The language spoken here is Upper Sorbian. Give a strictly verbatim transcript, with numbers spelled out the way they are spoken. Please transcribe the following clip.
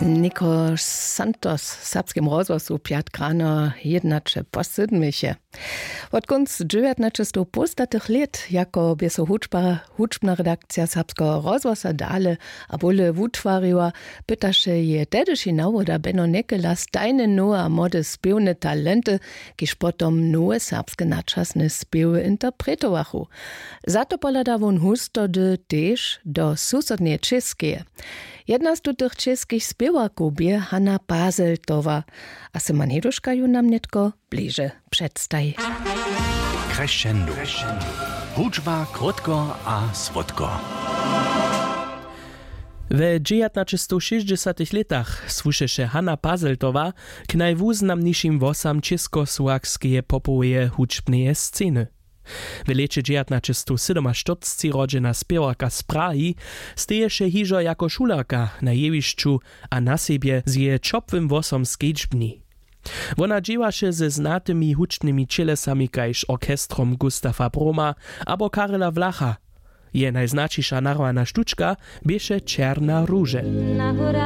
Niko Santos w Serbskim rozhłosu pjatk rano jědnaće po sydmich je. Wot kónc dźewjatnaćestowpołstatych lět, jako bě so hudźba hudźbna redakcija Serbskeho rozhłosa dale a bóle wutwariła, pytaše je tehdyši nawoda Beno Nekela stajne nowe a młode spěwne talenty, kiž potom nowe serbske načasne spěwy interpretowachu. Za to pohlada wón hustody tež do susodneje Čěskeje. Jedna z tutych českich spěwarkow bě Hanna Pazeltowa. A Syman Heduška ju nam nětko bliže předstaji. Crescendo. Hudźba krótko a słodko. We dźewjatnaćestowšěsćdźesatych lětach słušeše Hanna Pazeltowa k najwuznamnišim włosam českosłowskeje popoweje hudźbneje sceny. W lěće dźewjatnaćestowsydomaštyrcci rodźena spěwarka z Prahi steješe hižo jako šulerka na jewišću a na sebje z jeje ćopłym włosom skedźbni. Wona dźěłaše ze znatymi hudźbnymi ćělesami kaž orchestrom Gustafa Broma abo Karela Vlacha. Jeje najznaćiša narwana štučka běše Černa róže.